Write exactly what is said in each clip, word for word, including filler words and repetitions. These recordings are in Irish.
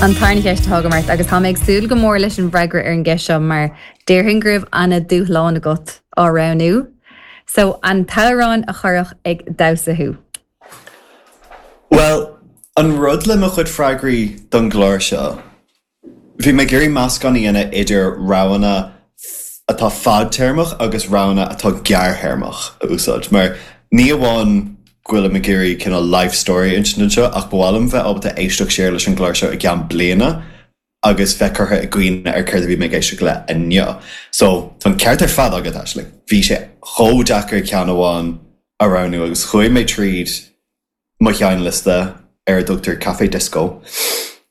An tarna cheist atá agam ort agus tá mé ag súil go mór leis an bhfreagra ar an gceist seo mar déarfainn go raibh an-dúshlán agat á roghnú. So an t-amhrán a chuirfeadh ag damhsa thú. Well, an rud le mo chuid freagraí don gclár seo, bhí mé ag iarraidh meascán a dhéanamh idir roghanna atá fadtéarmach agus roghanna atá gearrthéarmach a úsáid, mar ní amháin go bhfuilim ag iarraidh cineál life story insint anseo ach ba mhaith liom bheith ábalta éisteacht siar leis an gclár seo i gceann bliana agus bheith curtha i gcuimhne ar céard a bhí mé ag éisteacht le inniu. So tá an ceart ar fad agat Aisling. Bhí sé chomh deacair ceann amháin a roghnú agus chuaigh mé tríd mo sheinnliosta ar a dtugtar Café Disco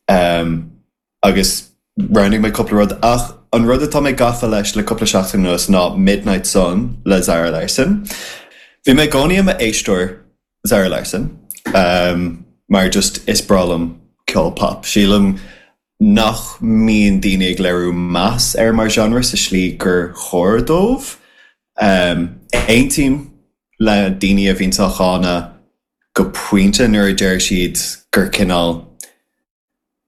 um, agus roghnaigh mé cúpla rud ach an rud atá mé gafa leis le cúpla seachtain anuas ná Midnight Sun le Zara Larsson. Bhí mé i gcónaí i m'éisteoir Zara Larsson um, mar just is breá liom ceol pop. Sílim nach mbíonn daoine ag léiriú meas air mar genre sa slí gur chóir dóibh. Um, Aontaím le daoine a bhíonn á cháineadh go pointe nuair a deir siad gur cineál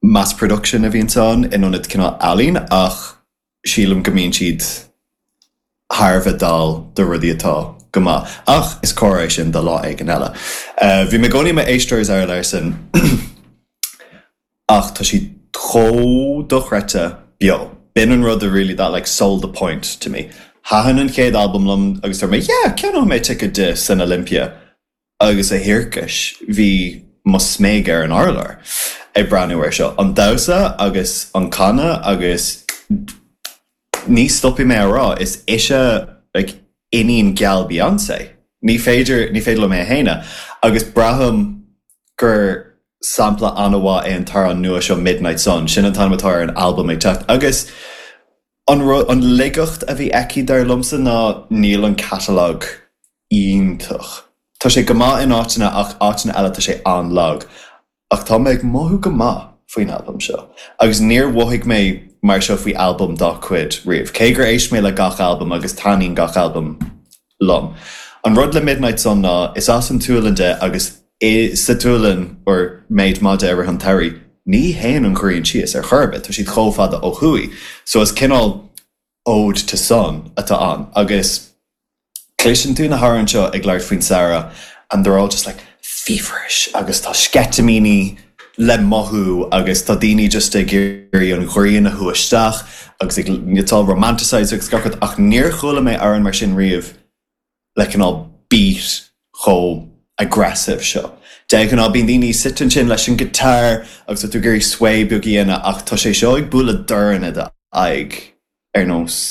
mass production a bhíonn ann in ionad cineál ealaín ach sílim go mbíonn siad thar a bheith dall do rudaí atá go maith. Ach is cóir é sin do lá éigin eile. Uh, bhí mé i gcónaí i m'éisteoir Zara Larsson ach tá sí chomh dochreidte beo. B'in an rud a really that like sold the point to me. Thaitin an chéad album liom agus dúirt mé yeah, ceannóidh mé ticket di san Olympia agus a thiarcais bhí mo smig ar an urlár ag breathnú air seo. An damhsa agus an canadh agus ní stopfaidh mé a rá is ise like, iníon geal Beyoncé. Ní féidir ní féidir liom é a shéanadh agus braithim gur sampla an-mhaith é an t-amhrán nua seo Midnight Sun, sin an t-ainm atá ar an album ag teacht. Agus an, an laigeacht a bhí aici dar liomsa ná níl an catalog iontach. Tá sé go maith in áiteanna ach áiteanna eile tá sé an-lag. Ach tá mé ag mothú go maith faoin album seo. Agus níor mhothaigh mé mar seo faoi album dá cuid riamh. Cé gur éist mé le gach album agus taitníonn gach album liom. An rud le Midnight Sun ná is as an tSualainn di agus i sa tSualainn or méid maide ar an terry, ní théann an ghrian síos ar chor ar bith, tá siad chomh fada ó thuaidh. So is cineál ode to sun atá ann agus cloiseann tú na hamhráin seo ag labhairt faoin samhradh and they're all just like feverish agus tá sceitimíní le mothú agus tá daoine just ag iarraidh an ghrian a shú isteach agus ag it's all romanticized agus gach rud ach níor chuala mé amhrán mar sin riamh le cineál beat chomh aggressive seo. De ghnáth bíonn daoine suite ansin leis an guitar agus tú ag iarraidh sway beag a dhéanamh ach tá sé seo ag bualadh dorn i d'aghaidh ar nós